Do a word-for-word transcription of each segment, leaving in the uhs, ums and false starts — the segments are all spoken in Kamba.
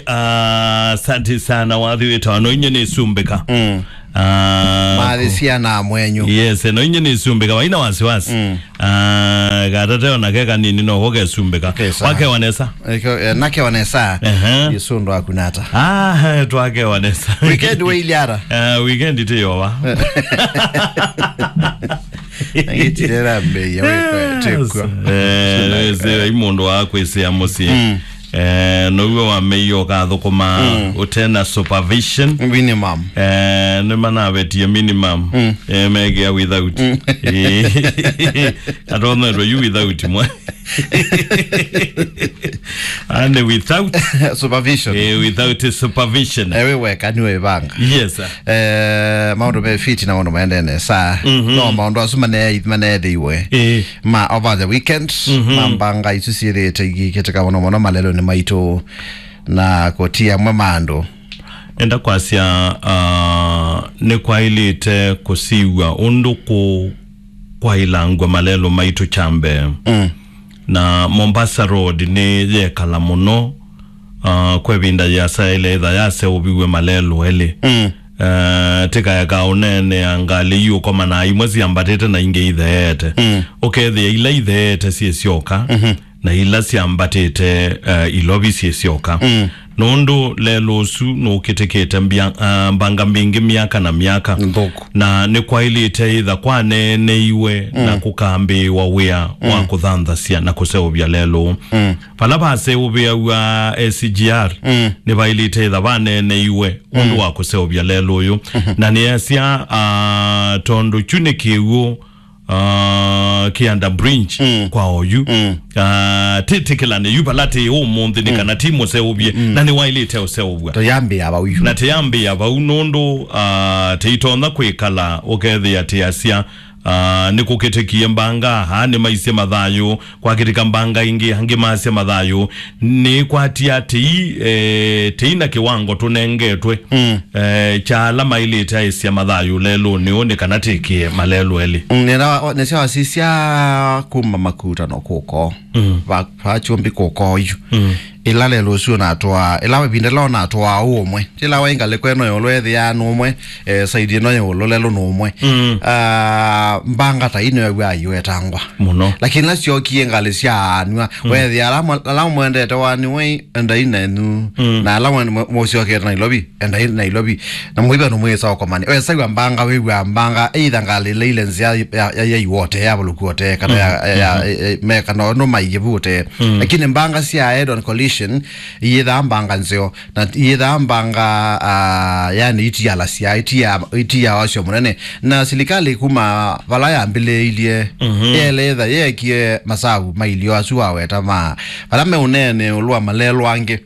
Ah, asante sana, wathi wĩtawa no inye nĩsumbĩka. Mm. Ah, mathi ku- syana mwenyu. Yes, no inye nĩsumbĩka, vaina wasiwasi. Mm. Ah, katateo na keka nini no kokesumbĩka. Okay, sawa. Wakewa nesa. Eko, eh, nakewa nesa. Ehe. Yesu ndo akunata. Ah, twakewa nesa. Weekend we iliara. Ah, weekend tiyowa. Ngitirera mbei ya wewe, tekwa. Eh, zira i mũndũ wa kwĩsĩa mũsyĩ. Mm. Eh, nowe wameie ũkathũkũma, mm, ũtena supervision. Minimum. Eh, nĩmanavetie minimum. Mm. Eh, megĩa without. Mm. Eh, atonyetwe yu without mwe. And without supervision. Eh, without supervision. Ewe weka nĩ wĩvanga. Yes, sir. Eh, maũndũ me fiti na maũndũ maendee nesa. Mhm. No maũndũ asu mane-, maneethĩiwe. Eh. Ma over the weekend, mhm, ma mbanga isu syĩthĩĩte ikĩkĩtĩka mũno mũno malelonĩ maitũ na kũtia amwe ma andũ. Enda kwasya, ah, nĩkwaĩlĩte kũsiw'a ũndũ kũ-, kwaĩlangw'a malelũ maitũ kya mbee. Mm. Na Mombasa Road nĩyekala mũno, ah, kwa ĩvinda yĩasa ĩla ĩtha yaseũviw'e malelũ elĩ. Mm. Eh, tĩkaeka ũneenea ngalĩ iũkomana imwe syambatĩte na ingĩ itheete. Mm. Ũkethĩa ila itheete syĩ syoka, mhm, na ila syambatĩte, eh, ilovi syĩ syoka. Mm. Nũndũ lelũ ũsu nũkĩtĩkĩte mbia-, ah, mbanga mbingĩ myaka na myaka. Nthũku. Na nĩkwaĩlĩte ĩtha kwaneeneiwe na, mm, kũkambĩĩwa wĩa wa, mm, kũthanthasya na kũseũvya lelũ. Mm. Vala vaseũvĩaw'a S G R, mm, nĩvaĩlĩte ĩtha vaneeneiwe ũndũ, mm, wa kũseũvya lelũ ũyũ. Mhm. Na nĩasya, ah, tondũ kyu nĩ kĩw'ũ, ah, kĩ under bridge, mm, kwa oyu. Mm. Ah, tĩtĩkĩlane yu vala tĩ ũmũnthĩ nĩ, mm, kana ti mũseũvye, mm, na nĩwaĩlĩte ũseũvw'a. Tũyambĩĩa vau yu. Na tĩyambĩĩa vau nũndũ, ah, tĩitonya kwĩkala ũkethĩa tĩasya, ah, nĩkũkĩtĩkie mbanga, aa nĩmaisye mathayũ, kwakĩtĩka mbanga ingĩ, angĩ masya mathayũ. Nĩkwatia tĩi, eh, tĩi na kĩwango tũnengetwe, mm, eh, kya ala maĩlĩte aĩsya mathayũ lelũnĩ ũũ nĩ kana tĩkĩe malelũ elĩ. Mm, nĩna wa-, nĩsya wasisya kuma makutano kũko. Mm. Va-, va kyũmbi kũko yu. Mm. Ĩla lelũ ũsu ũnatwaa, ĩla ĩvinda ĩla ũnatwaa ũmwe. Ĩla waĩ ngalĩko ĩno ĩũlũ ethĩaa nũmwe, eh, side ĩno ĩũlũ lelũ nũmwe. Mm. Ah, mbanga ta ino yaw'a iwetangwa. Mũno. Lakini ĩla syokie ngalĩ sya anwa, mm, wethĩa ala mwe-, ala mwendete wani wei, endai nenyu. Mm. Na ala mwe-, mwe-, mũsyokete Nairobi, endai Nairobi. Na mũiva nũmwĩsa ũkomani. Wesaw'a mbanga, wĩw'a mbanga, either ngalĩ ĩla ile nzĩa ya, ya, ya iwote, ya vuluku wote, kana ya, mm, ya, mm, ya, eh, eh, me kana no maiyĩvute. Mm. Lakini mbanga sya head on collision, iyĩthaa mbanga nzeo. Na yĩthaa mbanga, ah, yani itialasya, itia, itia wasyo mũnene. Na silikali kuma vala yambĩlĩĩilye, mhm, yeletha yeekie masavu mailyo asu waweta ma vala meũneene ĩũlũ wa malelũ angĩ.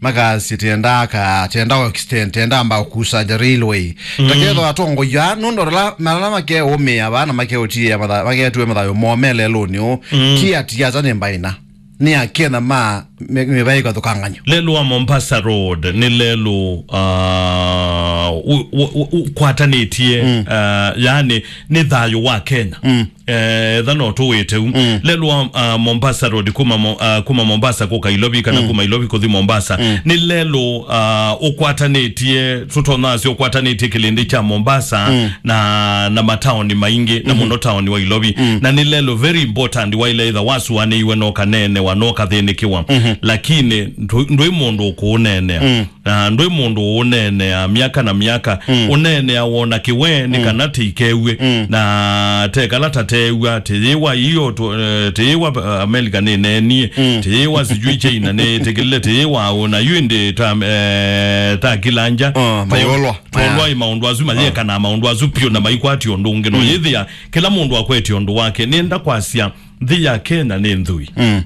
Makasya tenda ka, tenda o extend, tenda amba kusa the railway. Mhm. Takethwa atongoi aa, nũndũ ala, ala makeũmĩa vaa na makeũtiĩa matha-, maketue mathayo moo me lelũnĩ ũũ, mhm, ti ati ata nĩ mbaina. Nĩ Akenya ma mĩ-, mĩvaĩ ĩkathũkangany'o. Lelũ wa Mombasa Road nĩ lelũ, ah, ũ-, ũ-, ũ-, ũkwatanĩtie, mm, ah, yani nĩ thayũ wa Kenya. Mm. Eh, etha no tũwĩte u. Mm. Lelũ wa, ah, Mombasa Road kuma Mo-, ah, kuma Mombasa kũka Ilovi kana, mm, kuma Ilovi kũthi Mombasa. Mm. Nĩ lelũ, ah, ũkwatanĩtie, tũtonasya ũkwatanĩtie kĩlĩndĩ kya Mombasa, mm, na, na mataoni maingĩ, na, mhm, mũno taoni wa Ilovi. Mm. Na nĩ lelũ very important waile itha wasuanĩiwe no kaneenewa, no kathĩnĩkĩwa. Mhm. Lakini ndũ-, ndwĩ mũndũ ũkũũneenea. Mm. Na ndwĩ mũndũ ũũneenea myaka na myaka. Mm. Ũneenea wona kĩwe nĩ, mm, kana tĩikew'e. Mm. Na tekala ta teew'a, tĩyĩwa iyo tũ-, eh, tĩyĩwa, eh, America nĩneenie, mm, tĩyĩwa sijui China nĩtĩkĩlile, tĩyĩwa ũna yu ĩndĩ ta, eh, ta kila nja. Oh, mayolwa. Tolwa ĩ maũndũ asu mayeka na maũndũ asu piũ na maikwati ũndũ ũngĩ. No, mm, yĩthĩa kĩla mũndũ akwetye ũndũ wake. Nĩenda kwasya nthĩ ya Kenya nĩ nthũi. Mm.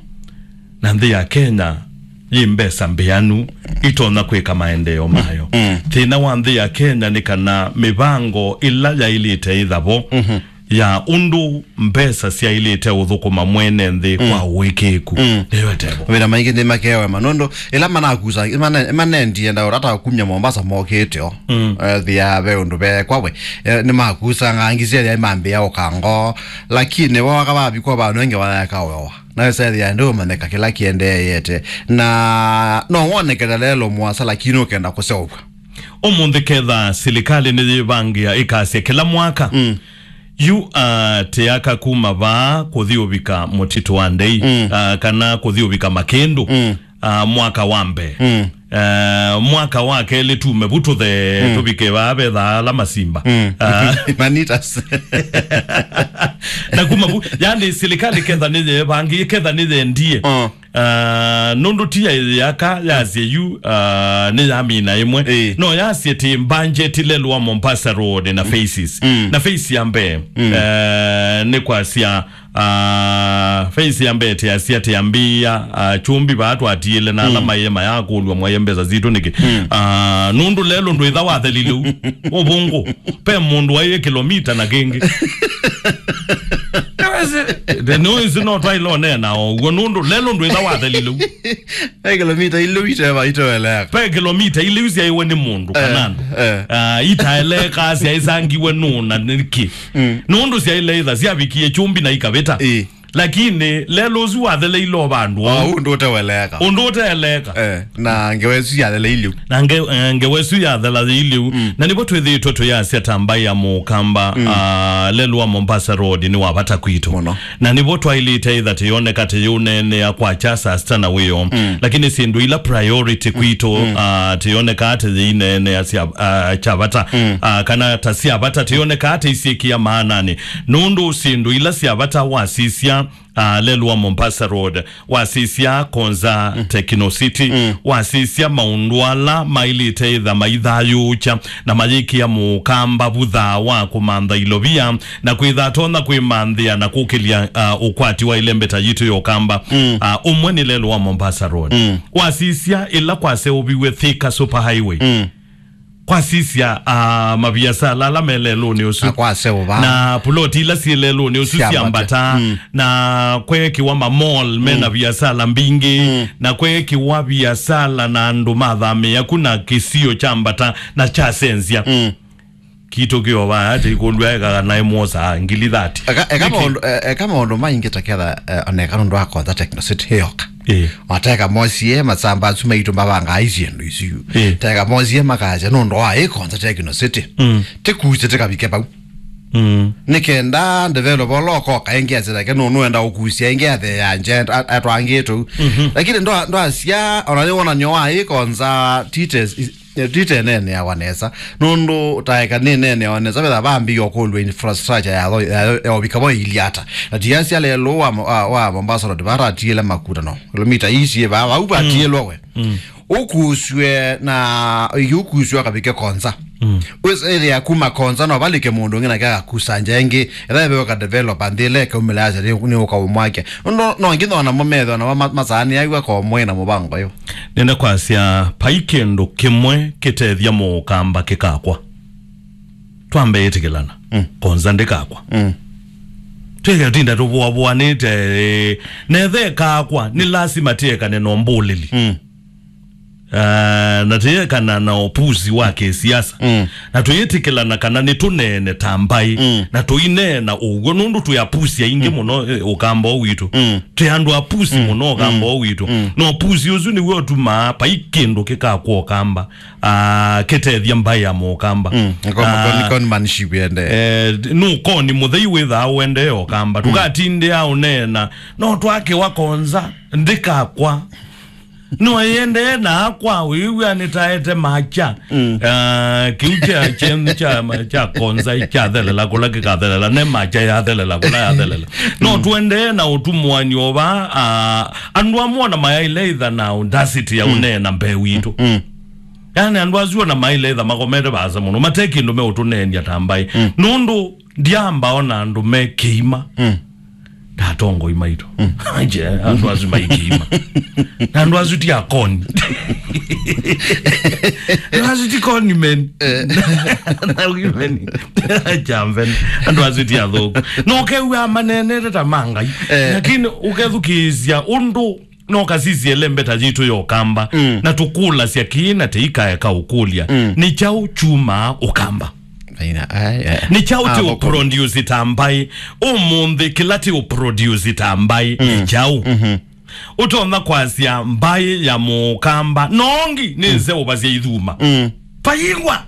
Na nthĩ ya Kenya yĩ mbesa mbĩanu itonya kwĩka maendeeo mayo. Mm. Thĩna wa nthĩ ya Kenya nĩ kana mĩvango ĩla yaĩlĩte ĩthavo, mhm, ya ũndũ mbesa syaĩlĩte ũthũkũma mwene nthĩ kwa ũĩkĩĩku. Nĩyo ĩtevo. Mawĩra maingĩ nĩmakeewa ma nũndũ ĩla manakusa, mane-, manendie ndaũra ta kumya Mombasa mokĩte o. Ethĩa ve ũndũ veekwa we. Eh, nĩmakusanga angĩ syethĩa imambĩa ũkango, lakini wooka vavikwa vandũ engĩ vayaeka wewa. Nawe sethĩa ndũũmanyĩka kĩla kĩendeeyete. Na no wonekete lelo mũasa, lakini ũkenda kũseũvw'a. Ũmũnthĩ ketha silikalĩ nĩyĩvangĩa ĩkasya kĩla mwaka, yu, ah, tĩaka kuma vaa kũthi ũvika mũtitũ wa ndei, ah, kana kũthi ũvika makĩndũ, ah, mwaka wa mbee. Ah, mwaka wa kelĩ tume vu tũthe, tũvike vaa vetha ala masimba. Ah. Manitas. Na kuma vu, yani silikalĩ ketha nĩyĩvangĩe, ketha nĩyendie. Ah, nũndũ ti ya yaka yasye yu, ah, nĩ yamina ĩmwe. Ĩĩ. No yasye ti mbanjeti lelũ wa Mombasa Road na phases. Na phase ya mbee, eh, nĩ kwasya, ah, phase ya mbee tĩasya tĩambĩĩa, ah, chumbi vaa twatiĩle na ala maĩe mayakũlw'a mwaie mbesa sitũ nĩkĩ. Ah, nũndũ lelũ ndwĩtha wathelile u. Ũvũngũ. Pe mũndũ waĩe kilomita na kĩngĩ. Nĩwĩsĩ no twaĩle ũneena o ũguo nũndũ lelũ ndwĩtha wathelile u. Pe kilomita ilĩ ite-, itoeleka. Pe kilomita ilĩ syaĩwe nĩ mũndũ kana andũ. Eh. Ah, itaeleka syaĩsangiwe nũ na nĩkĩ. Nũndũ syaĩle itha syavikie chumbi na ikavĩta. Ĩĩ. Lakini lelũ ũsu watheleile o vandũ. Ah, ũndũ ũteweleka. Ũndũ ũteeleka. Eh, na ngewa ĩsu yatheleile u. Na nge-, eh, ngewa ĩsu yathela yĩilye u. Na nĩvo twĩthĩĩtwe tũyasya ta mbaĩ ya mũkamba, ah, lelũ wa Mombasa Road nĩ wa vata kwitũ. Mũno. Na nĩvo twaĩlĩte ĩtha tĩyoneka tĩyĩũneenea kwakya saa sita na wĩoo. Lakini syĩndũ ila priority kwitũ, ah, tĩyoneka tĩyĩineenea sya, ah, kya vata. Ah, kana ta sya vata tĩyoneka tĩisyĩkĩa maananĩ. Nũndũ syĩndũ ila sya vata wasisya, ah, lelũ wa Mombasa Road, wasisya Konza Techno City, wasisya maũndũ ala maĩlĩte ĩtha maithayũũkya na mayĩkĩa mũkamba vutha wa kũmantha ilovia na kwĩtha atonya kwĩmanthĩa na kũkĩlya, ah, ũkwati wa ĩlembeta yitũ ya ũkamba. Ah, ũmwe nĩ lelũ wa Mombasa Road. Wasisya ĩla kwaseũviw'e Thika Super Highway. Kwasisya, ah, maviasala ala me lelũnĩ ũsu. Na kwaseũva. Na puloti ila syĩ lelũnĩ ũsu sya mbata. Na kweekiwa ma mall me na viasala mbingĩ. Na kweekiwa viasala na andũ mathamĩĩa ku na kĩsio kya mbata na kyasenzya. Kitũ kĩovaa ate ikũlw'a ekaga naĩ mwosaa ngili thati. Eka, eka maũndũ, e-, eka maũndũ maingĩ ta ketha, eh, oneka nũndũ wa Konza Techno City ĩyoka. Ĩĩ. Mateka mosie masamba asu maitũ mavangaa syĩndũ isu. Ĩĩ. Teka mosie makasya nũndũ wa ĩ Konza Techno City. Tĩkuse tĩkavike vau. Nĩ kenda developer ũla ũkoka ĩngĩ asĩleke nũ nũenda ũkusya ĩngĩ athe ya nje atwangĩtũ. Lakini ndwa-, ndwasya ona nĩ wonany'o wa ĩ Konza tites Titeneeneawa nesa, nũndũ taeka nĩneeneawa nesa, vetha vambĩĩa ũkũlw'a infrastructure ya, ya, ya ũvika vo ĩilyĩ ata. Na tiasya lelũ wa, wa, wa Mombasa Road, vata atiĩle makuta no. Kilomita ii syĩ vaa, vau vatiĩlwe we. Ũkusw'e na, ĩngĩ ũkusw'e akavike Konza. Wĩsĩthĩa kuma Konza no valike mũndũ ũngĩ nake agakusa nja ĩngĩ, ethĩwa ĩveo ka developer nthĩ ĩla ĩkaumĩla yasya nĩ, nĩ ũka ũmwake. Nũndũ no nginya ona mo methĩwa namo ma-, masaanĩaw'a komwe na mũvango ũyũ. Nĩnda kwasya, vai kĩndũ kĩmwe kĩtethya mũũkamba kĩkakwa. Twambe ĩtĩkĩlana. Konza ndĩkakwa. Twĩke tinda tũvũavũanĩte, eh, netha ĩkakwa, nĩ lasima tĩekane na ũmbũlĩli. Ah, na tĩekana na ũpusi wa kĩsiasa. Na tũyĩtĩkĩlana kana nĩtũneene ta mbaĩ. Na tũineena ũw'o nũndũ twĩ apusi aingĩ mũno, eh, ũkamba ũũ witũ. Twĩ andũ apusi mũno ũkamba ũũ witũ. Na ũpusi ũsu nĩw'o ũtumaa vai kĩndũ kĩkakwa ũkamba, ah, kĩtethya mbaĩ ya mũũkamba. Con-, con-, conmanship yende. Eh, nũkoni mũthei wĩthaa ũendee ũkamba. Tũkatindĩa ũneena, no twakĩwa Konza, ndĩkakwa. No ĩendee na akwa, wĩw'a nĩtaete makya. Ah, kĩu kya, kyenyu kya, kya Konza kyathelela kũla kĩkathelela, ne makya yathelela kũla yathelela. No tũendee na ũtumũanio va, ah, andũ amwe ona mayaile ĩtha na audacity ya ũneena mbee witũ. Yani andũ asu ona maile ĩtha makomete vaasa mũno, mate kĩndũ meũtũneenia ta mbaĩ. Nũndũ ndiamba ona andũ me kĩima. Ndatongoi maitũ. Aje, andũ asu maikiima. Na andũ asu ti akoni. Andũ asu ti koni men. Na women. Jamben. Andũ asu ti athũku. No ũkew'a manenete ta ma Ngai. Lakini ũkethukĩĩsya ũndũ no kasisye lembeta yitũ ya Ũkamba. Na tũkũlasya kĩĩ na tĩikaeka ũkũlya. Nĩ kyaũ kyumaa Ũkamba? Aina, ai, ai. Nĩ kyaũ ti ũproduce ta mbaĩ? Ũmũnthĩ kĩla ti ũproduce ta mbaĩ nĩ kyaũ? Ũtonya kwasya mbaĩ ya Mũkamba nongi nĩ nzeũva sya ithuma. Vaingwa.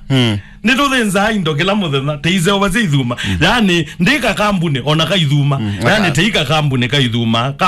Nĩtũthĩnzaa indo kĩla mũthenya, tĩiseũva sya ithuma. Yani, ndĩ kakambunĩ ona ka ithuma. Yani, tĩi kakambunĩ ka ithuma.